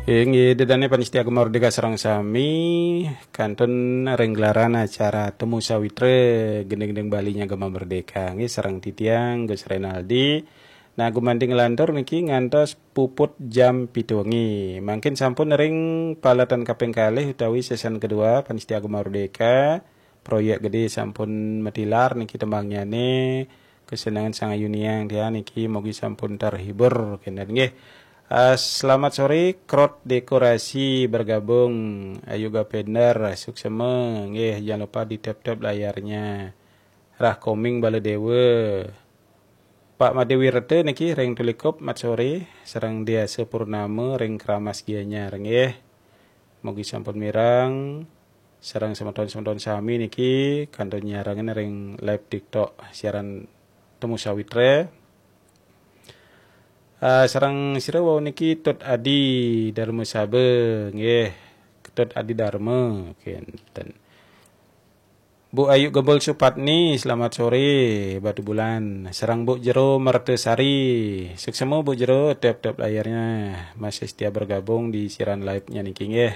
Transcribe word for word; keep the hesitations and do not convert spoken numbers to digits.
Inggih, ida dane pamiarsa Gema Merdeka sareng sami, kantun ring gelaran acara Temu Sawitra, gending-gending Bali nya Gema Merdeka. Inggih, sareng titiang Gus Renaldi. Nah, gumanti nglantur niki ngantos puput jam pitu wengi. Mangkin sampun ring paletan kaping kalih utawi season kedua pamiarsa Gema Merdeka. Proyek gede sampun matilar niki tembangnyane, kesenangan sang ayuniang tiang niki, mugi sampun terhibur kenten nggih. Eh, selamat sore, Krot Dekorasi bergabung, Ayu Gapender, suksema nggih, jangan lupa di tap-tap layarnya. Rah Koming Baladewa. Pak Made Wirata niki ring Tulikup, mat sore, sareng Diasa Purnama ring Keramas Gianyar nggih. Mugi sampun mireng, sareng semeton-semeton sami niki kantun nyarengin ring live TikTok siaran Temu Sawitra. Ah, sareng sira wau niki Tut Adi Darma Saba nggih. Tut Adi Darma kenten. Bu Ayu Gembul Supatni, selamat sore, Batu Bulan. Sareng Bu Jero Mertasari. Suksema Bu Jero, tap-tap layarnya. Masih setia bergabung di siaran live-nya niki nggih.